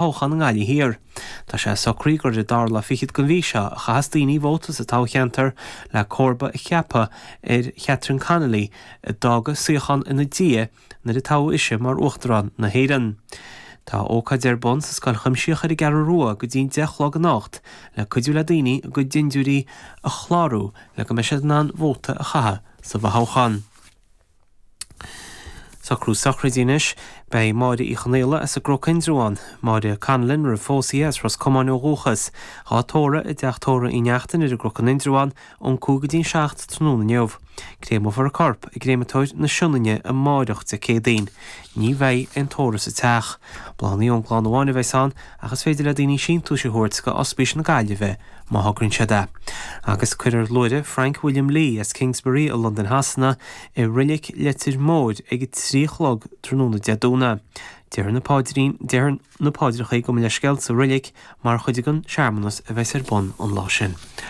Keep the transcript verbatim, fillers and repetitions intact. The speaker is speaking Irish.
Thoghchán i nGaillimh Thiar. Tá sé socraithe gur ar an dara lá fichead den mhí seo a chaithfeas daoine vóta sa toghcheantar le comharba a cheapadh ar Chatherine Connolly a d'fhág a suíochán ina diaidh nuair a toghadh ise mar Uachtarán na hÉireann. Tá ócáid ar bun sa Scoil Chuimsitheach ar an gCeathrú Rua go dtí an deich a chlog anocht le cuidiú le daoine a gcuid dindiúirí a chlárú le go mbeidh siad in ann vóta a chaitheamh sa bhfothoghchán. Socrú sochraide anois. Beidh Máire Uí Chonaola as an gCnoc Indreabhán, Máire Connellan roimh phósadh í, as Ros Comáin ó dhúchas, dhá tórramh i dteach tórraimh Uí Neachtain ar an gCnoc in Indreabhán ón cúig go dtí an seacht tráthnóna inniu. Créamófar a corp i gcréamatóir na Sionainne amáireach Dé Céadaoin. Ní bheidh aon tórramh sa teach. Bláthanna ón gclann amháin a bheas ann ach is féidir le daoine síntiúis a thabhairt go Ospís na Gaillimhe má thograíonn siad é. Agus cuirfear luaithre Frank William Lee as Kingsbury i Londain Shasana i Reilig Leitir Móir ag a trí a chlog tráthnóna Dé Domhnaigh. Déarfar na paidrín, déarfar na paidreacha gabh mo leithscéal sa reilig mar chuid den searmanas a bheas ar bun an lá sin.